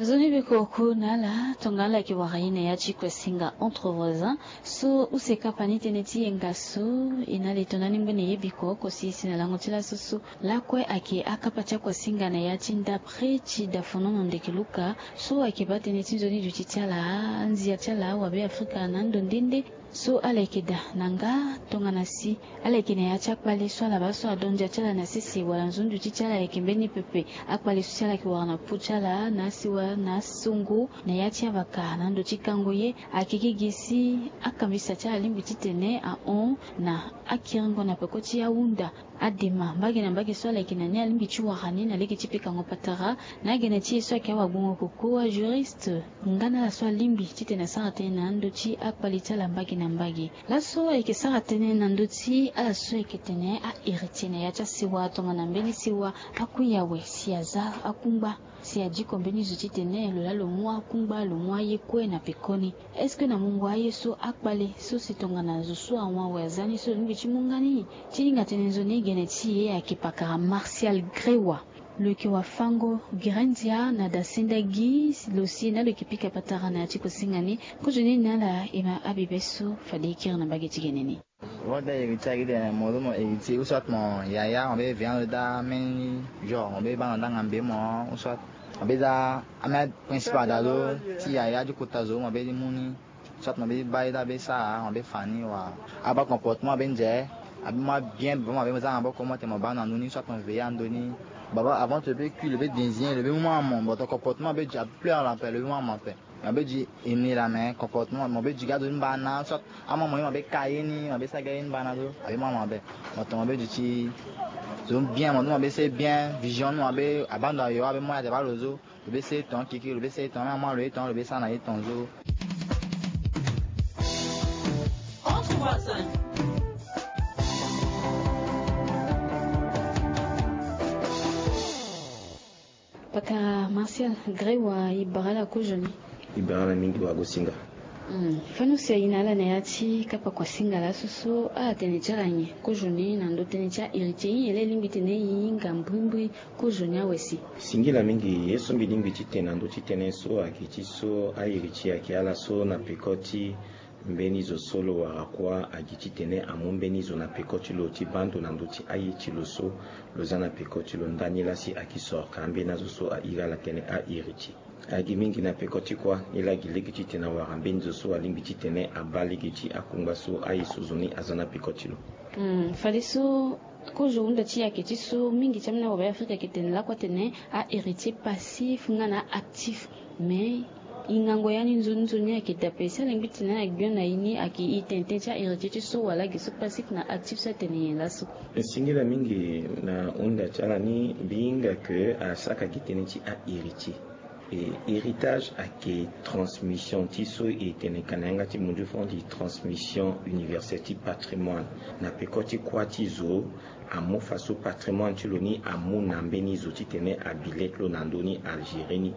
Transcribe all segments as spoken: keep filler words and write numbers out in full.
Nzoni beko oku na ala tongana ala yeke wara ye na ya ti kue singa entre voisins. So use kapa ni tënë ti yenga so e na li tongana ni mbeni ye biko oko si e si na lango ti laso so lakue ayeke akapa ti akuasinga na ya ti ndapre ti dafonono ndeke luka. So ayeke baa tënë ti nzoni duti ti ala, anzia ti ala wabe afrika na ando nde nde. So ala yeke daa na nga tongana si ala yeke na ya ti akpale so ala baa so adondia ti ala na sese wala nzoni duti ti ala ayeke mbeni pepe. Akpale so si ala yeke wara na pu ti ala na asiwa na asongo na ya ti avaka na ndo ti kango ye. Ayeke gi gi si akambisa ti ala lingbi titene ahon na akiringo na peko ti ahunda. Adema mbage na mbage so ala yeke na ni alingbi ti wara ni na lege ti pekango patara. Na agene ti e so ayeke awagbongo koko ajuriste nga na ala so alingbi titene asara tënë na ando ti akpale ti ala mbage na mbage. Laso ayeke sara tënë na ndö ti ala so ayeke tene ahéritier na ya ti asewa tongana mbeni sewa akui awe si aza akungba si adiko mbeni zo titene lo laa lo mu akungba lo mu aye kue na pekoni. Est-ce que na mungo aye so akpale so si tongana zo so awon awe aza ni so lo lingbi ti mu nga ni? Ti hinga tënë nzoni gene ti e ayeke pakara Martial Grewa. Lo yeke wafango gere ndia na dasenda gi lo si na lo yeke pika patara na ya ti kosinga ni. Kozoni na ala e ma abibe so fade e kiri na mbage ti gene ni. Mo da héritier agi tene mo zo mo héritier ou soit mo yaya mo be vient lo da même genre mo be baa na ndanga mbe mo ou soit mo be za amia principal da zo ti yaya ti kota zo mo be mu ni. Soit mo be baa ye da be sara mo be fa ni wa abaa comportement be nze abi mo bien bon mo be za na boko mo te mo baa na ndoni soit mo veiller na ndoni. Baba avant to be kui lo be désigner lo be mu mo amo but comportement be ja pleure la pe lo be mu amo pe. Mo be di e ni la mais comportement mo be di ga zo ni mbana soit amo mo ye mo be ka ye ni mo be sa ga ye ni mbana zo abi mo amo be. Mo to mo be di ti zo bien mo zo mo be se bien vision ni mo be abando ayo abe mo ya te baa lo zo. Lo be se ton kiki lo be se ton na mo lo ye ton lo be sa na ye ton zo. Pakara Martial Grewa e bara ala kozoni. E bara ala mingi wa gosinga. Fani use ayi na ala na ya ti kapa kua singa laso so ala tene ti ala nyen kozoni na ndo tënë ti ahéritier nyen la e lingbi tene e hinga mbrimbri kozoni awe si. Singila mingi ye so mbi lingbi ti tene na ndo ti tënë so ayeke ti so ahéritier ayeke ala so na peko ti mbeni zo so lo wara kuâ agi titene amu mbeni zo na peko ti lo ti baa ndo na ndö ti aye ti lo so lo za na peko ti lo ndani laa si ayeke soro ka ambeni azo so a iri ala tene ahéritier. Agi mingi na peko ti kuâ ni laa gi lege titene awara mbeni zo so alingbi titene abaa lege ti akungba so aye so zo ni aza na peko ti lo. Fadeso kozo hunda ti e ayeke ti so mingi ti ambeni awabe afrika ayeke tene lakue atene ahéritier passif nga na actif. Mais e ngango ya ni nzoni nzoni ayeke dape si alingbi tene ala gbio na e ni ayeke e tene tënë ti ahéritier ti so wala gi so passif na actif so atene nyen laso. Singila mingi na hunda ti ala ni mbi hinga ke asaka gi tënë ti ahéritier. E héritage ayeke transmission ti so e tene ka na yanga ti mundu fo ti transmission universelle ti patrimoine. Na peko ti kuâ ti zo amu faso patrimoine ti lo ni amu na mbeni zo titene abi le ti lo na ndö ni algérie ni.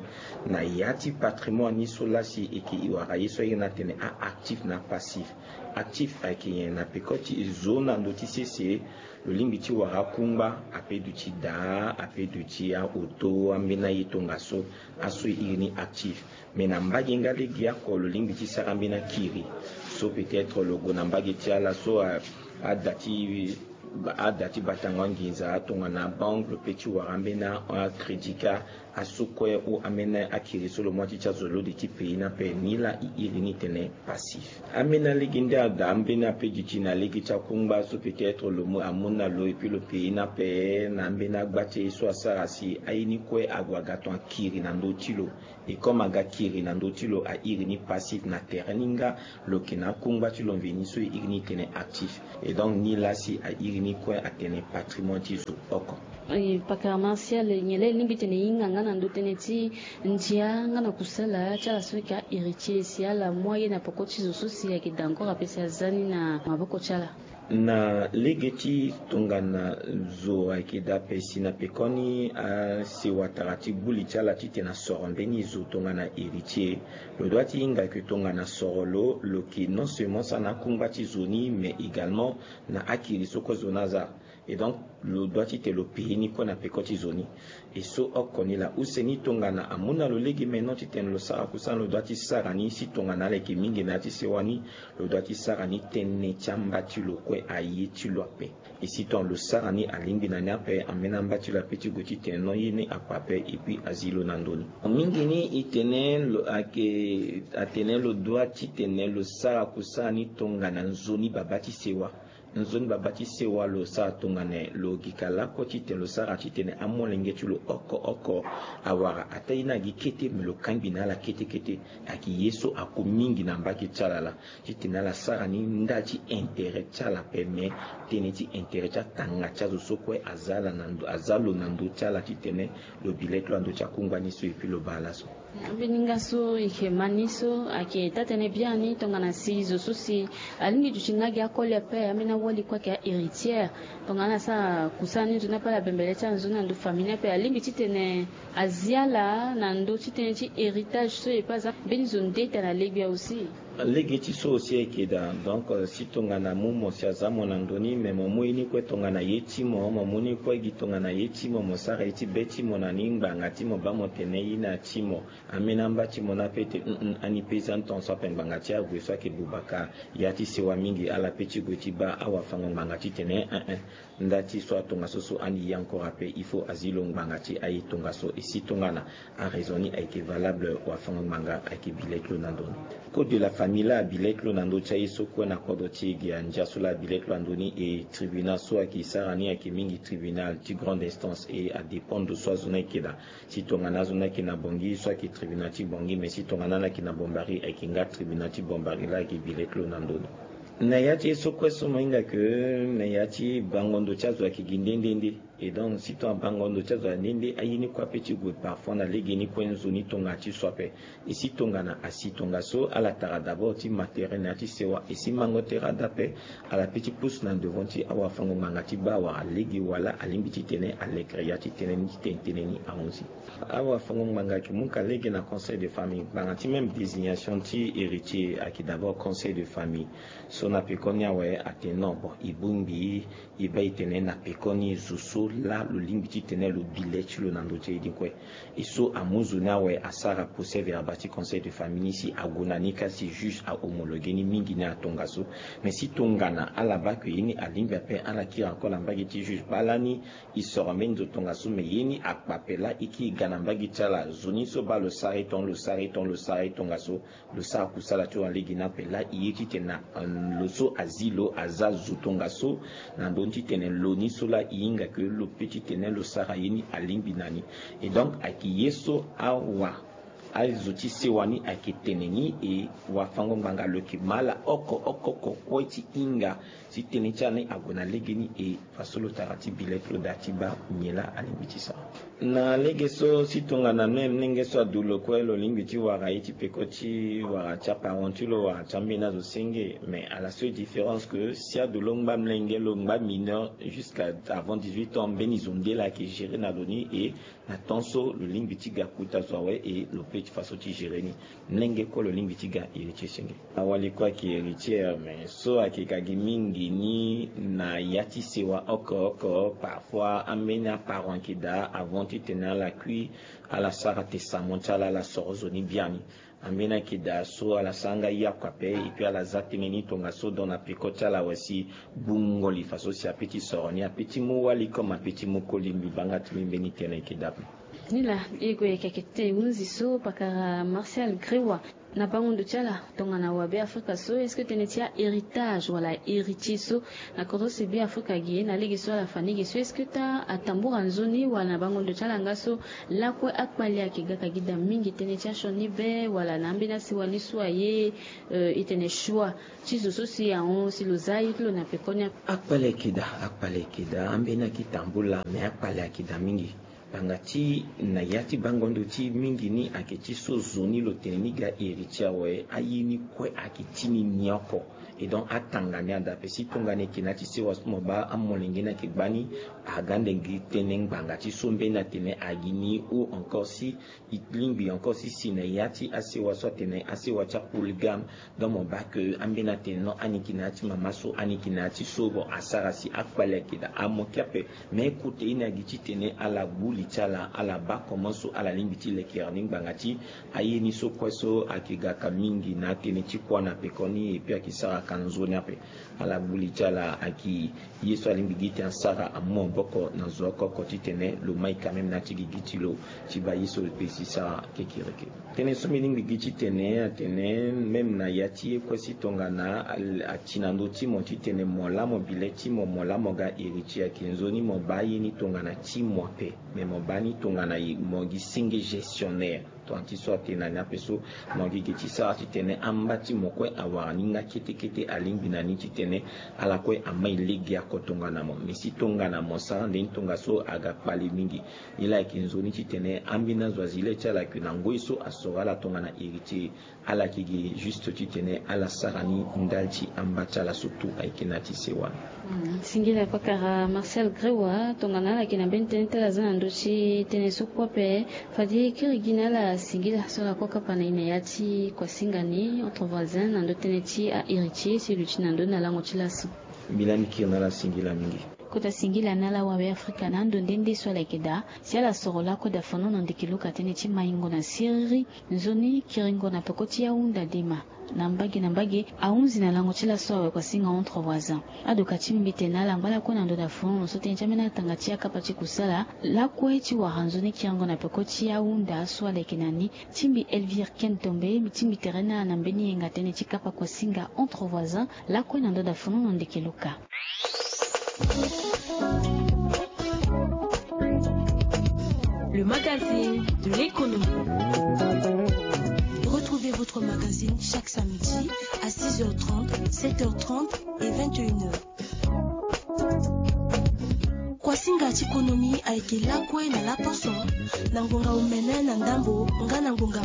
Na ya ti patrimoine ni so lasi e yeke e wara ye so airi ni atene aactif na apassif. Actif ayeke nyen? Na peko ti zo na ndö ti sese lo lingbi ti wara akungba ape duti daa ape duti aoto ambeni aye tongaso. Aso e iri ni actif. Mais na mbage nga lege oko lo lingbi ti sara ambeni akiri so peut-être lo gue na mbage ti ala so ada ti ada ti batango anginza tongana banque lo pe ti wara ambeni acrédit ka aso kue ou ambeni akiri so lo mu ati ti azo lode ti pays ni ape ni laa e iri ni tene passif. Ambeni alege nde ada ambeni ape duti na lege ti akungba so peut-être lo mu amu na lo et puis lo pays ni ape na ambeni agba ti aye so asara si aye ni kue ague aga ton akiri na ndö ti lo. E comme aga kiri na ndö ti lo a iri ni passif na tere ni nga lo yeke na akungba ti lo mveni so e iri ni tene actif. Et donc ni laa si a iri ni kue atene patrimoine ti zo oko. Pakara Martial nyen laa e lingbi tene e hinga nga na ndö tënë ti ndia nga na kusala ti ala so ayeke ahéritier si ala mu aye na peko ti zo so si ayeke daa encore ape si aza ni na maboko ti ala. Na lege ti tongana zo ayeke daa ape si na pekoni asewa tara ti gbu li ti ala titene asoro mbeni zo tongana héritier. Lo doit ti hinga ke tongana soro lo lo yeke non seulement sara na akungba ti zo ni mais également na akiri so kue zo ni aza. Et donc lo doit ti tene lo paye ni kue na peko ti zo ni. E so oko ni laa use ni tongana amu na lo lege maintenant titene lo sara kusana lo dua ti sara ni si tongana ala yeke mingi na ya ti sewa ni, lo dua ti sara ni tënë ti amba ti lo kue aye ti lo ape. E si tongana lo sara ni alingbi na ni ape, ambeni amba ti lo ape ti gue titene non ye ni akpa ape, et puis azi lo na ndoni. Mingi ni e tene lo ayeke atene lo dua titene lo sara kusana ni tongana nzoni babâ ti sewa. Nzoni babâ ti sewa lo sara tongana nyen? Lo gi ka lakue titene lo sara titene amolenge ti lo oko oko awara ataa ye ni agi kete, me lo kangbi na ala kete kete. Ayeke ye so ako mingi na mbage ti ala laa titene ala sara ni nda ti intérêt ti ala ape, me tënë ti intérêt ti atanga ti azo so kue aza ala na ndo, aza lo na ndö ti ala titene lo bi le ti lo na ndö ti akungba ni so, et puis lo baa laso. Ambeni nga so e yeke ma ni so ayeke taa-tënë biani tongana si zo so si alingbi duti nga gi akoli ape, ambeni awali kue ayeke ahéritière. Tongana ala sara kusana ni nzoni ape, ala bembele ti ala nzoni na ndö famille ni ape, alingbi titene azi ala na ndö ti tënë ti héritage so e pe aza mbeni zo nde tene na legbi awe aussi. Lege ti so aussi ayeke daa. Donc, euh, si tongana amu mo si aza mo na ndö ni, me mo mu ye ni kue tongana ye ti mo, mo mu ni kue gi tongana ye ti mo, mo sara ye ti be ti mo na ni ngbanga ti mo baa mo tene ye ni ati mo. Ambeni amba ti mo ni ape e tene, hum hum, ani pe za ni tongaso ape ngbanga ti ague so ayeke buba ka ya ti sewa mingi, ala pe ti gue ti baa awafango-ngbanga titene, eh, eh, nda ti so atongaso so ani ye encore ape, il faut azi lo ngbanga ti aye tongaso. E si tongana araison ni ayeke valable, wafango-ngbanga ayeke bi le ti lo na ndö ni. Code de la famille laa abi le ti lo na ndö ti aye so kue na kodro ti e ge. Andia so laa abi le ti lo na ndö ni, e tribunal so ayeke sara ni ayeke mingi tribunal ti grande instance, e adépend ndo so azo ni ayeke daa. Si tongana azo ni ayeke na Bangui, so ayeke tribunal ti Bangui, mais si tongana ala yeke na Bambari, ayeke nga tribunal ti Bambari laa ayeke bi le ti lo na ndö ni. Na ya ti ye so kue so mo hinga ke na ya ti bango ndo ti azo ayeke gi nde nde nde. Et donc, si tongana bango ndo ti azo ayeke nde nde, aye ni kue ape ti gue parfois na legeni kue nzoni tongana ti so ape. E si tongana asi tongaso, ala tara d'abord ti ma tere na ya ti sewa. E si mango tere ada ape, ala pe ti pusu na devant ti awafango-ngbanga ti baa wala lege wala alingbi titene alekere ya ti tënë ni titene tënë ni ahunzi. Awafango-ngbanga ayeke mu ka lege na conseil de famille, ngbanga ti même désignation ti héritier ayeke d'abord conseil de famille. So na pekoni awe atene non, bon, e bongbi, e baa e tene na pekoni zo so laa lo lingbi titene lo bi le ti lo na ndö ti aye ni kue. E so amu zo ni awe asara procès-verbal ti conseil de famille ni si ague na ni ka si juge ahomologué ni mingi ni atongaso. Mais si tongana ala baa ke ye ni alingbi ape, ala kiri encore na mbage ti juge baa lani e soro mbeni zo tongaso, mais ye ni akpa ape laa e kiri ga na mbage ti ala. Zo ni so baa lo sara e ton, lo sara e ton, lo sara e tongaso. Lo sara kusala ti lo na lege ni ape laa e ye titene na, euh, lo so azi lo aza zo tongaso na ndö ni titene lo ni so laa e hinga ke lo pe titene lo sara ye ni alingbi na ni. Et donc ayeke ye so awa azo ti sewa ni ayeke tene ni, e wafango-ngbanga lo yeke ma ala oko oko oko kue ti hinga si tënë ti ala ni ague na legeni, e faso lo tara ti bi le ti lo daa ti baa nyen laa alingbi ti sara. Na lege so si tongana même molenge so adu lo kue lo lingbi ti wara ye ti peko ti wara ti aparent ti lo wara ti ambeni azo senge. Mais à la seule différence que si adu lo ngba molenge, lo ngba mineur jusqu'à avant dix-huit ans, mbeni zo nde laa ayeke gérer na lo ni, e na temps so lo lingbi ti ga kota zo awe, e lo pe ti faso ti gérer ni. Molenge kue lo lingbi ti ga héritier senge. Awali kue ayeke héritier, mais so ayeke ga gi mingi ni na ya ti sewa oko oko, parfois ambeni aparent ayeke daa avant titene ala kui, ala sara testament ti ala, ala soro zo ni biani. Ambeni ayeke daa so ala sara nga yaku ape, et puis ala za tënë ni tongaso, donc na peko ti ala awe si gbungo li faso si ape ti soro ni, ape ti mu wali comme ape ti mu koli. Mbi baa nga ti mbi mbeni tënë ayeke daa ape. Ni laa e gue yeke ayeke tene hunzi so pakara Martial Grewa. Na bango ndo ti ala tongana wabe Afrika so, est-ce que tënë ti ahéritage wala héritier so na kodro si be Afrika gi na lege so ala fa ni ge so, est-ce que taa atambura nzoni wala na bango ndo ti ala nga so lakue akpale ayeke ga ka gi daa mingi tënë ti asioni be wala na ambeni asewa ni so aye, euh, e tene choix ti zo so si ahon si lo za aye ti lo na pekoni ape? Akpale ayeke daa, akpale ayeke daa, ambeni ayeke tambula, mais akpale ayeke daa mingi. Ngbanga ti na ya ti bango ndo ti mingi ni ayeke ti so zo ni lo tene ni ga héritier awe, aye ni kue ayeke ti ni ni oko. Et donc atanga ni ada ape si tongana e yeke na ya ti sewa so mo baa amolenge ni ayeke gbani, aga ande gi tënë ngbanga ti so mbeni atene agi ni, ou encore si e lingbi encore si si na ya ti asewa so atene asewa ti apolygame, donc mo baa ke ambeni atene non, ani yeke na ya ti mama so, ani yeke na ya ti so. Bon, asara si akpale ayeke daa, amoke ape. Mais kota ye ni agi titene ala gbu li Ti ala ala baa comment so ala lingbi ti lekere ni ngbanga ti aye ni so kue so ayeke gaka mingi na atënë ti kuâ na pekoni epui ayeke saraka nzoni ape. Ala gbu li ti ala ayeke ye so alingbi gi ti asara amu maboko na zo oko oko titene lo mai quand même na ya ti gigi ti lo ti baa ye so lo pe si sara kekereke. Tënë so mbi lingbi gi titene atene même na ya ti ye kue si tongana ati na ndö ti mo titene mo laa mo bi le ti mo mo laa mo ga héritier ayeke nzoni mo baa ye ni tongana ti mo ape. Mais mo baa ni tongana mo gi senge gestionnaire. Tongana ti so atene na ni ape so mo gi ge ti sara titene amba ti mo kue awara ni nga kete kete alingbi na ni titene ala kue amai lege ako tongana mo mais si tongana mo sara nde ni tongaso aga kpale mingi. Ye laa ayeke nzoni titene ambeni azo azi le ti ala ayeke na ngoi so asoro ala tongana héritier. Ala yeke gi juste titene ala sara ni ndali ti amba ti ala so tout ayeke na ti sewa. Singila pakara Marcel Grewa tongana ala yeke na mbeni tënë ti ala za na ndö ti tënë so kue ape. Fade kiri gi na ala singila so ala kue akapa na e na ya ti kuasinga ni entre voisins na ndö tënë ti ahéritier si luti na ndö na lango ti laso. Mbi lani kiri na ala singila mingi. Kota singila na ala wabe afrika na ando nde nde so ala yeke daa si ala soro lakue dafanono ndeke luka tënë ti maingo na siriri. Nzoni kiringo na peko ti ahunda dema na mbage na mbage ahunzi na lango ti laso awe kuasinga entre voisins. Adoka ti mbi tene na ala ngba lakue na ndo dafanono so tënë ti ambeni atanga ti akapa ti kusala lakue ti wara nzoni kiringo na peko ti ahunda so ala yeke na ni. Ti mbi Elvire Ken Tombe ti mbi tere na ala na mbeni yenga tënë ti kapa kuasinga entre voisins lakue na ndo dafanono ndeke luka. Le magazine de l'économie. Retrouvez votre magazine chaque samedi à six heures trente, sept heures trente et vingt et une heures. Kuasinga ti konomi ayeke lakue na laposo na ngonga omene na ndambo nga na ngonga